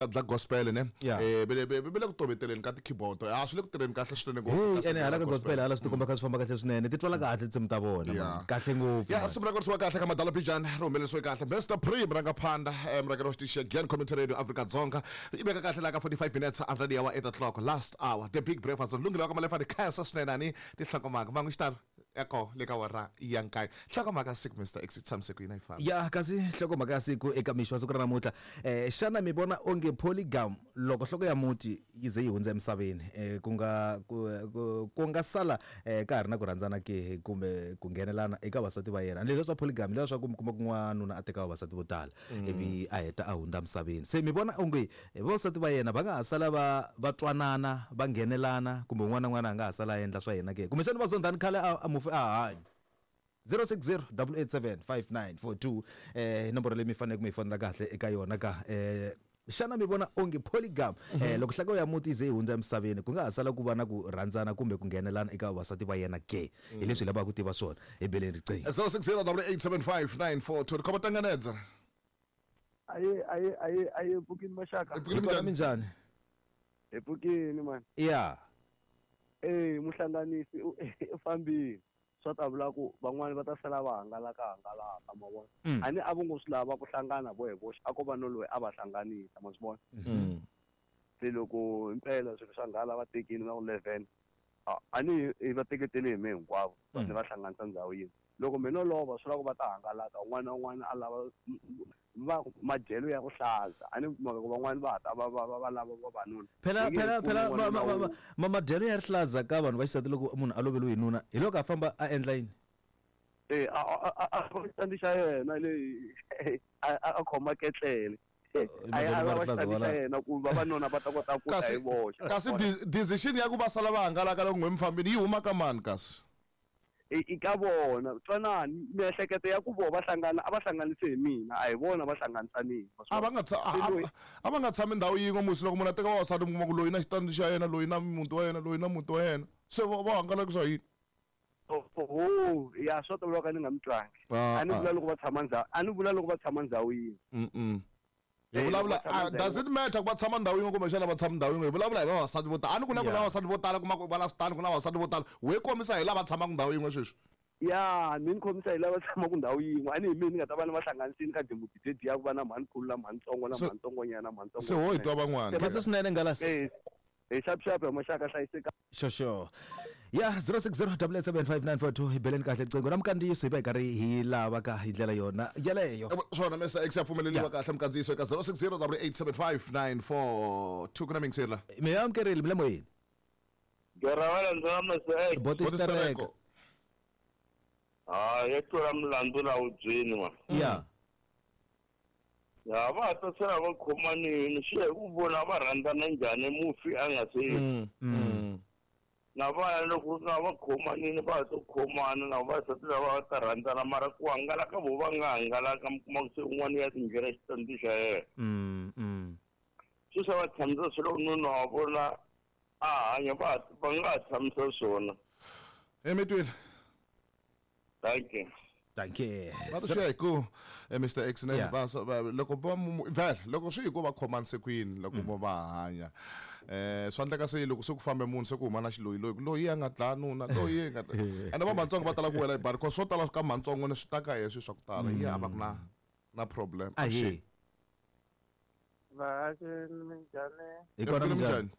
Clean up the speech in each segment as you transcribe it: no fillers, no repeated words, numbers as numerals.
Bya gospel ne. Yeah. Ve le ku toveteleni ka ti-keyboard, a swi le ku tirheni kahle swinene ngopfu. Hey, ene hala ka gospel hala swi tikomba kha swi famba kahle swinene, ti twala kahle tinsimu ta vona. Man, kahle ngopfu. Ya man. Risimu ra korisiwa kahle ka Madala Bijani, ri humelerisiwe kahle Mr Pre murangaphandha, murhangeri wa xitichi xa Gyan Community Radio Afrika Dzonga. Yi veka kahle laha ka 45 minutes after the hour 8 o'clock, last hour, the big breakfast. Lunghelo wa ka Malefa, ni khensa swinene ani tinhlokomhaka mangu xitalo ya koho le ka wara ya nkaye. Nhlokomhaka siku, Mr X, tshamise ku yini a yi famba? Ya kasi nhlokomhaka ya siku eka mixo wa siku ra namuntlha, xana mi vona onge polygam loko nhloko ya muti yi ze yi hundza emisaveni, ku nga ku nga sala ka ha ri na ku rhandzana ke kumbe ku nghenelana eka vasati va yena? Leswiya swa polygam leswiya swa ku mi kuma ku n'wanuna a teka vavasati vo tala ivi a heta a hundza emisaveni, se mi vona onge vavasati va yena va nga ha sala va va twanana va nghenelana kumbe un'wana na un'wana a nga ha sala a endla swa yena ke? Kumbexana va zondhani khale a mufi a ha hanya. 060 887 5942 nomboro leyi mi faneleke mi yi fonela kahle eka yona ka xana mi vona onge polygam loko nhloko ya muti yi ze yi hundza emisaveni ku nga ha sala ku va na ku rhandzana kumbe ku nghenelana eka vavasati va yena ke? Hi leswi hi lavaka ku tiva swona. Hi beleni riqingho. 060 875 942 khoma tanganedza. Aye, aye, aye, aye, pfukini maxaka. Hi pfukile. Hi kona. Minjhani? Minjhani? Hi pfukini man. Ya. Eh, muhlanganisi u fambile. Swa ta vula ku van'wani va ta sala va hangalaka hangalaka, ma vona. A ni a vo ngo swi lava ku hlangana vo hi voxe, a ko va no loyi a va hlanganisa, ma swi vona. Se loko himpela swilo swa nghala va tekile na ku 11, a ni hi va teketele hi me hinkwavo, ni va hlanganisa ndhawu yin'we. Loko me no lova swi vula ku va ta hangalaka, un'wana na un'wana a lava va madyelo ya ku hlaza. A ni mhaka ku van'wani va ha ta va va va va lava vavanuna. Phela Yi nge phela he kumi phela n'wanuna ma ma wun'we. ma madyelo ya rihlaza ka vanhu va xisati loko munhu a loveriwe hi nuna hi loko a famba a endla yini? Eh, a a a a xitandi xa yena le a a khoma ketlele. A Madyelo ya ma lava rihlaza xitandi xa wala. yena ku vavanuna va ta kota ku ta Kasi hi voxe. kasi decision ya ku va sala va hangalaka loko n'we mi fambini yi huma ka mani kasi? I ka vona. Twanani, miehleketo ya ku voho va hlangana a va hlanganise hi mina, a hi vona va hlanganisanile. A va nga a va nga tshami ndhawu yin'we musi. Loko munhu a teka vavasati mi kuma ku loyi na xitandi xa yena, loyi na muti wa yena, loyi na muti wa yena, se va hangalakisa yini? Oho, ya swa tovula ka ni nga mi twangi. A ni vula loko va tshama ndhawu, a ni vula loko va tshama ndhawu yin'we. Hi vulavula, does it matter ku va tshama ndhawu yin'we kumbexana va tshama ndhawu yin'we? Hi vulavula hi vavasati vo tala. A ni ku na ku na vavasati vo tala, kuma ku va na switandi, ku na vavasati vo tala. We kombisa hi lava tshamaka ndhawu yin'we sweswi. Ya, mi ni khomisa hi lava tshamaka ndhawu yin'we. A ni hi mina ni nga ta va ni va hlanganisini ka dimuti dediya ku va na mhani-khulu na mhani-ntsongo na mhani-ntsongonyana na mhani-ntsongo. Se ho hi twa van'wana. Khensa swinene Ngalasi. Eh, hi xapu xapu ya maxaka hlayiseka. Xoxo. Ya 060 775 hi beleni kahle riqingho na mikandziyiso hi va hi karhi hi lava ka hi ndlela yona yeleyo. Swona Mr X, ya pfumeleriwa kahle mikandziyiso eka 060 875 942. Ku na mingiseri la. Mi amukerile mi le moyeni. Geravala ndzi Mr X. Boti Stereko. Ha, ya tlula milandzu la wubyeni wa. Ya. Ya va ha ta sala va khomanini, swi ya hi ku vona va rhandzana njhani mufi a nga se. Na vana loko nga va khomanini va ha to khomana na vavasati lava va ta rhandzana, mara ku hangalaka vo va nga hangalaka mi kuma ku se un'wana ya tindlela xitandi xa yena. Swi swa va tshamisa swilo nuna wa vona a hanya va va nga ha tshamisa swona. Hi mi twile. Thank you. Thank you. Va swi hi ku Mr X ne va loko va vhele loko swi hi ku va khomanise kwini loko vo va hanya, swa endleka se loko se ku fambe munhu se ku huma na xiloyi loyi loyi a nga dlaya nuna, loyi nga ene va matsongo va tala ku wela hi bari cause swo tala ka matsongo ne swi ta ka yena swilo swa ku tala yi hava ku na na problem. Ahe. Vahaxi, minjhani? Hi kona, minjhani?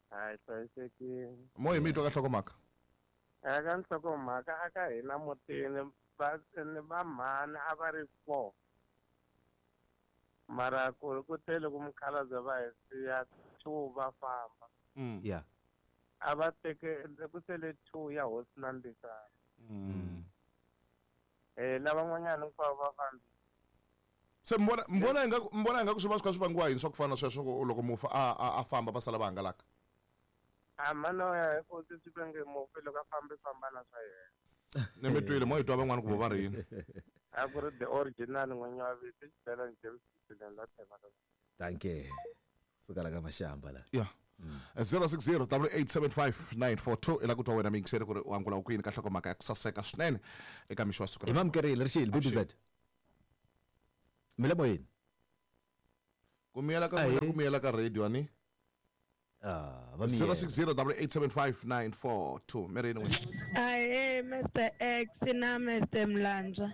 Hayi, hlayisekile. Mo hi mi twa ka nhlokomhaka. Eka nhlokomhaka a ka hina mutini va ni va mhani a va ri 4. Mara ku ku tele ku mukhalabye va hi siya 2 va famba. Yeah. A va teke ku sele 2 ya hosi na Mbisana. Lavan'wanyana hinkwavo va fambile. Se mbona mbona inga mbona inga ku swi va swi kha swi vangiwa yini swa ku fana na sweswo loko mufi a famba va sala va hangalaka? A mano ya hi ku swi venge mufi loko a fambi famba na swa yena. Ni mi twile mo hi twa van'wana ku vo va ri yini. A ku ri the original n'winyi wa vito Xibelani James Xibelani la tshembaka. Thank you. Suka la ka Mashamba la. Yeah. 060 875 942 i la ku twa wena miyingiseri ku ri u angula ku yini ka nhlokomhaka ya ku saseka swinene eka mixo wa siku. Hi mamukerile rixile BBZ. Mi le moyeni. Ku miyela ka n'wina ku miyela ka radio ani? Ah, va miyela. 060 875 942 Mary n'wina. Ahee Mr X na Mr Mlandzwa.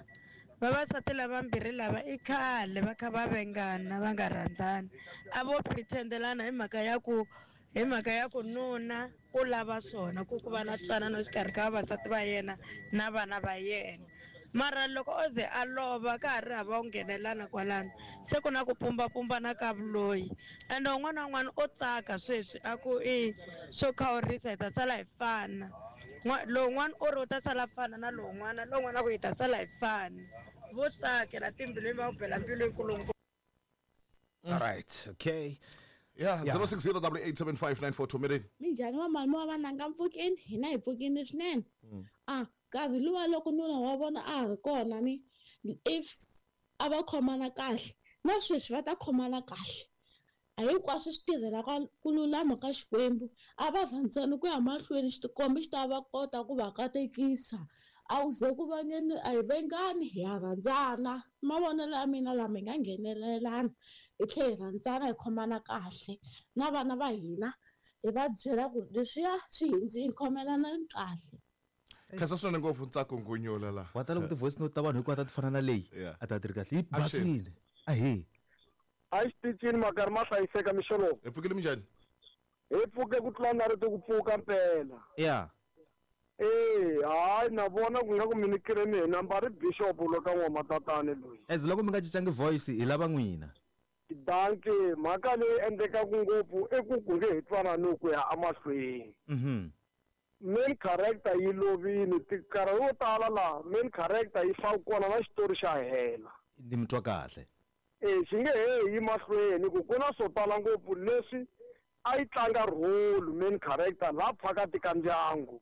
Vavasati lavambirhi lava i khale va kha va vengana va nga rhandzani. A vo pretendelana hi mhaka ya ku hi mhaka ya ku nuna u lava swona ku ku va na ntwanano exikarhi ka vavasati va yena na vana va yena. Mara loko o ze a lova ka ha ri hava ku nghenelana kwalano se ku na ku pumbapumbana ka vuloyi ende un'wana na un'wana o tsaka sweswi a ku i swo khawurisa hi ta sala hi fana. Lowun'wana u ri u ta sala fana na lowun'wana lowun'wana a ku hi ta sala hi fana. Vo tsakela timbilwini va ku bela mbilu yikulu. All right, okay. Yeah, Yeah. 060 875 942 Mary. Minjhani va malume wa vananga mpfukeni hina hi pfukini swinene a nkarhi luwa loko nuna wa vona a ha ri kona ni if a va khomana kahle na sweswi va ta khomana kahle a hinkwaswo swi tirhela ku lulama ka Xikwembu a va rhandzani ku ya mahlweni xitikombi xi ta va kota ku va katekisa a wu ze ku vangeni a hi vengani hi ya rhandzana mavonelo ya mina lama hi nga nghenelelana hi tlhela hi rhandzana hi khomana kahle na vana va hina hi va byela ku leswiya swi hindzini khomelanani kahle. Khensa swinene ngopfu Ntsako Ngunyula la. Wa tala ku ti-voice note ta vanhu hinkwato a ti fana na leyi. Yeah. A ta ti ri kahle. Yi Action. basile. Ahee. A yi xitichini makarhi ma hlayiseka mixo lowu. Hi pfukile minjhani? Hi pfuke ku tlula na rito ku pfuka mpela. Yeah. Eh, hayi na vona ku nga ku mi nikile mina nambara bishop lo ka n'wamatatani loyi. As loko mi nga cincangi voice hi lava n'wina. Danke, mhaka leyi endlekaka ngopfu i ku ku nge he twanani ku ya emahlweni. Main character yi lovile, nkarhi wo tala laha main character yi fa kona na xitori xa hela. Ni mi twa kahle. Eh, xi nge he yi mahlweni ku ku na swo tala ngopfu leswi a yi tlanga role main character laha phakati ka ndyangu.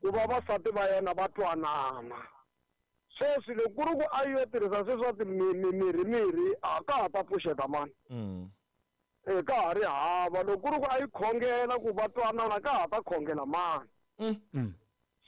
Ku va vasati va yena va twanana. Sweswi loko ku ri ku a yi yo tirhisa sweswi swa mirhi mirhi a ka ha ta pfuxeta mani. Eh, ka ha ri hava loko ku ri ku a yi khongela ku va twanana ka ha ta khongela mani.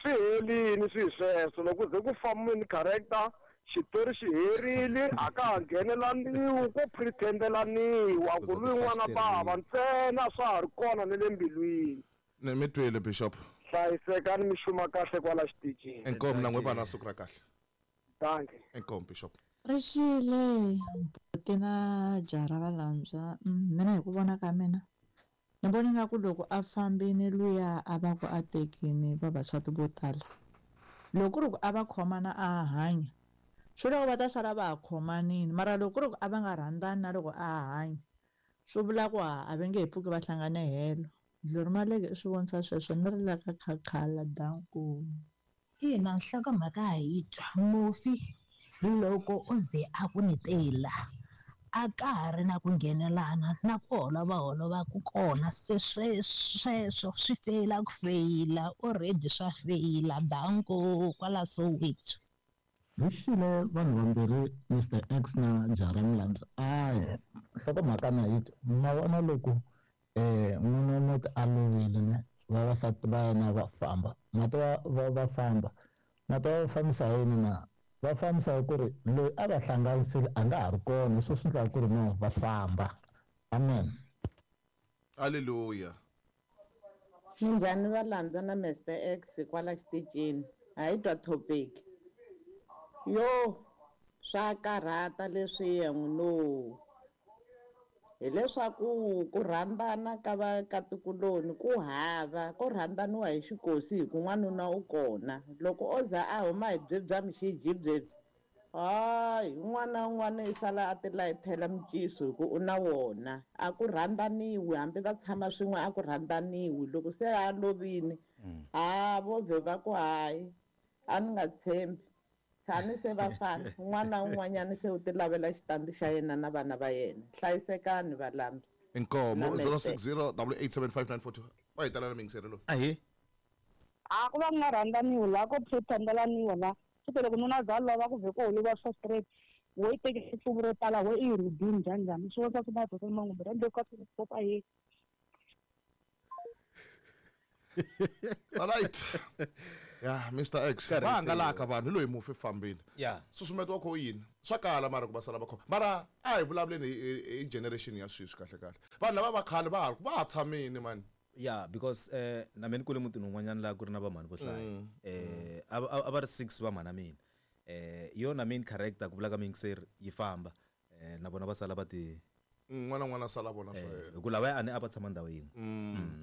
Swi helini swi sweswo loko ze ku fa main character xitori xi herile a ka ha nghenelaniwi ko pretendelaniwa ku ri n'wana bava ntsena swa ha ri kona ni le mbilwini. Ni mi twile Bishop. Hlayisekani mi xuma kahle kwala xitichini. Inkomu na n'we vana siku ra kahle. Danke. Inkomu Bishop. Rixile mbuti na jaha ra Valandzwa mina hi ku vona ka mina ni vona nga ku loko a fambini luya a va ku a tekini vavasati vo tala loko ku ri ku a va khomana a hanya swi loko va ta sala va ha khomanini mara loko ku ri ku a va nga rhandzani na loko a hanya swi vula ku a va nge he pfuki va hlangane helo Dlori Maleke i swi vonisa sweswo ni ri la ka khakhala danku. Ina nhlokomhaka ha yi twa mufi loko o ze a ku ni tela a ka ha ri na ku nghenelana na ku holovaholova ku kona se sweswo swi feyila ku feyila already swa feyila danko kwala Soweto. Rixile vanhu vambirhi Mr X na Jara Mlandzi ayi nhlokomhaka na yi twa ma vona loko n'wini wa muti a lovile ne vavasati va yena va famba mati va famba mati va fambisa yini na va fambisa hi ku ri loyi a va hlanganisile a nga ha ri kona swo swi endlaka ku ri no va famba amen. Hallelujah. Minjhani Valandzwa na Mr X kwala xitichini ha yi twa topic yo swa karhata leswiya n'wino hileswaku ku rhandzana ka vakatikuloni ku hava ko rhandzaniwa hi xikosi hi ku n'wanuna u kona loko o za a huma hi bye bya mixiji byebyi hayi un'wana na un'wana i sala a ti layithela minciso hi ku u na wona a ku rhandzaniwi hambi va tshama swin'we a ku rhandzaniwi loko se a lovini ha vo vhe va ku hayi a ni nga tshembi tshani se va fana un'wana na un'wanyana se u ti lavela xitandi xa yena na vana va yena hlayisekani Valambi. Inkomo 060 875 va hi talela miyingiseri loyi. Ahee. A ku va ku nga rhandzaniwi laha ko pretendelaniwa laha swi loko nuna za lova ku vhe ku holova swa straight wo yi tekile tluvu ro tala wo i rubini njhani njhani swi vonisa swi madosa mangumbe rhandle ka swi ahee. All right. Ya Mr X, va hangalaka vanhu hi loyi mufi fambini. Ya. Susumeto wa kho yini? Swa kala mara ku va sala va khoma. Mara a hi vulavuleni hi generation ya sweswi kahle kahle. Vanhu lava va khale va ha va ha tshamini mani. Yeah, because na mina ni kule mutini wun'wanyana laha ku ri na vamhani vo hlaya. A va ri 6 vamhana mina. Yona main character ku vula ka muyingiseri yi famba. Na vona va sala va ti N'wana n'wana sala vona swa yena. Hi ku lavaya a ni a va tshama ndhawu yin'we.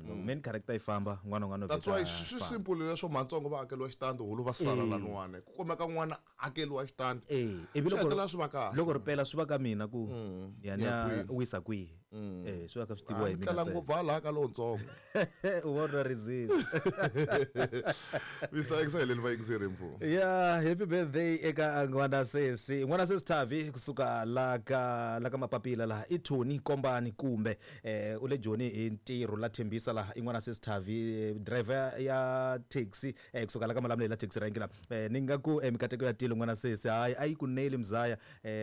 Loko main character yi famba, n'wana n'wana That's why swi simple leswo matsongo va akeliwa xitandi hulu va sala laniwani. Ku kumeka n'wana akeliwa xitandi. Ivi Swi hetelela swi va kahle. Loko ri pela swi va ka mina ku ya ni ya wisa kwihi. Swi va ka swi tiviwa hi mina. Tlela ngopfu hala ka lowuntsongo. U vona rizini. Mr X heleni va yingiseri mfo. Yeah, happy birthday eka n'wana sesi. N'wana sesi Thavi kusuka la ka Mapapila laha i Tony Kombani kumbe u le Joni hi ntirho la Thembisa laha i n'wana sesi Thavi driver ya taxi kusuka la ka Malamulele la taxi rank la. Ni nga ku mikateko ya tilo n'wana sesi hayi a yi ku neli mzaya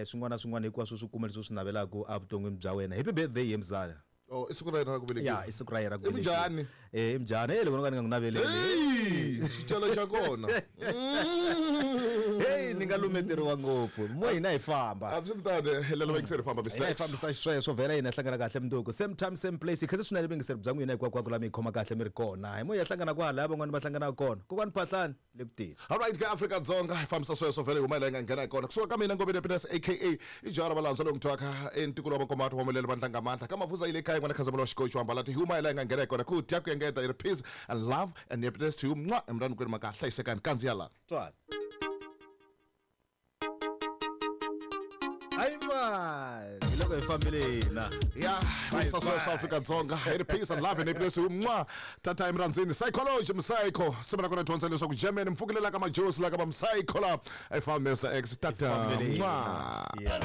swin'wana swin'wana hinkwaswo swi kuma leswi swi navelaka evuton'wini bya wena. Happy birthday ye mzaya. Oh, i siku ra yena ra ku velekiwa. Ya, i siku ra yena ra ku velekiwa. I mujhani. I mujhani. Loko no ka ni nga n'wi naveleli. Hey, xicelo xa kona. Hey, ni nga lumeteriwa ngopfu. Mo hina hi famba. Absolutely. Helelo vayingiseri famba Mr. Hina hi X. fambisa xisweswo vhela hina hlangana kahle mundzuku. Same time, same place. Khensa swinene vuyingiseri bya n'wina hinkwako la mi hi khoma kahle mi ri kona. Hi mo hi ya hlangana kwalaya van'wani va hlangana kona. Kokwani Phahlani le ku teni. All right, ka Afrika Dzonga hi fambisa sweswo vhele hi huma hi laha hi nga nghena hi kona. Kusuka ka mina Ngobeni Happiness aka i jaha ra valandzwa lowu n'wi entikulu wa Makomato wa Mulele Vandla nga Mandla. Ka Mavuza yi le kaya n'wana Khazamula wa Xikoxi wa Mbalati hi huma hi laha hi nga nghena hi kona. Ku dya ku engeta hi ri peace and love and happiness to you. Mwa emrani kwenu maka hlayisekani kandziya la. Twala. Hayi man, hi loko hi fambile hina. Ya, fambisa sweswo Afrika Dzonga hi ri peace and love and happiness to you. Mwa tata emrandzini psychology msycho. Siku na kona dyondza leswaku Germany mpfukelela ka majosi la ka va msycho la. A yi fambi Mr X tata. Hi fambile hina. Mwa. Yeah.